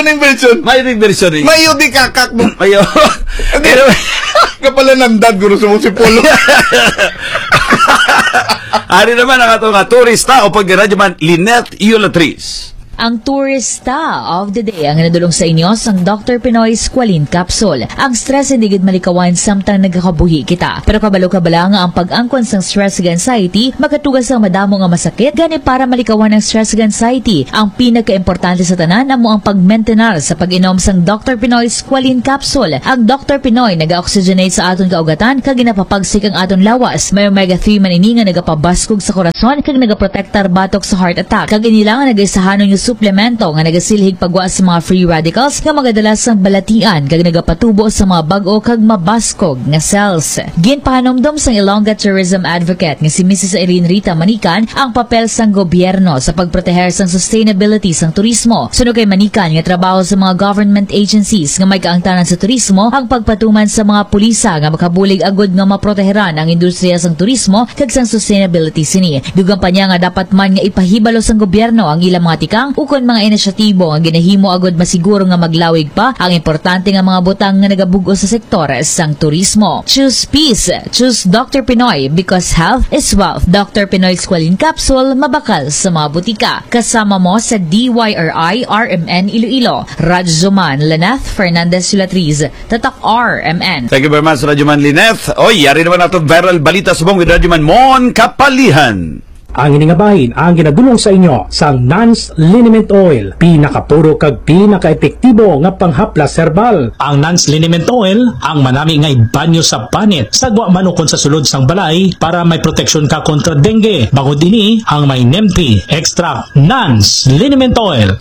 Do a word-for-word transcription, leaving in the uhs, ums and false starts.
Invention. May diversion rin. Mayo di kakak mo. Mayo. Hindi. Pero Kapalanandad, guro, sa si Polo. Ari naman ang ato nga turista o pag-radyoman, Lynette Iulatriz. Ang turista of the day ang nadulong sa inyo sang Doctor Pinoy Squalene Capsule. Ang stress hindi gid malikawan samtang nagakabuhi kita. Pero kabalo ka bala nga ang pag-angkon sang stress ug anxiety makatugas sang madamo nga masakit? Gani, para malikawan ang stress ug anxiety, ang pinakaimportante sa tanan amo ang pag-maintain sa pag-inom sang Doctor Pinoy Squalene Capsule. Ang Doctor Pinoy naga-oxygenate sa aton kaugatan kag ginapapagsik ang aton lawas. May omega three man ini nga nagapabaskog sa korason kag nagaprotektar batok sa heart attack. Kag ini lang ang nagaisahanon nga suplemento nga nagasilhig pagwa sa mga free radicals nga magadala sa balatian kag nagapatubo sa mga bag-o kag mabaskog nga cells. Ginpahanumdom sang Ilongga tourism advocate nga si Missus Irene Rita Manican ang papel sang gobyerno sa pagproteher sang sustainability sang turismo. Suno kay Manican nga trabaho sa mga government agencies nga may kaangtanan sa turismo ang pagpatuman sa mga pulisa nga makabulig agud nga maproteheran ang industriya sang turismo kag sang sustainability sini. Dugang pa niya nga dapat man nga ipahibalo sang gobyerno ang ilang mga tikang ukon mga inisyatibo nga ginahimo agud masiguro nga maglawig pa ang importante nga mga butang nga nagabug-os sa sektor sang turismo. Choose peace. Choose Doctor Pinoy because health is wealth. Doctor Pinoy Squalene Capsule, mabakal sa mga butika. Kasama mo sa D Y R I R M N Iloilo. Radyoman Lynette Fernandez Sulatriz, Tatak R M N. Thank you very much, Radyoman Lynette. Oy, yari naman ato viral balita subong with Radyoman Mon Kapalihan. Ang ini nga bahin ang ginadulong sa inyo sang Nans Liniment Oil, pinakapuro kag pinakaepektibo nga panghaplas herbal. Ang Nans Liniment Oil ang manami nga ibanyo sa panit, sa gwa man ukon sa sulod sang balay para may proteksyon ka kontra dengue. Bangod ini ang may Nempi Extra Nans Liniment Oil.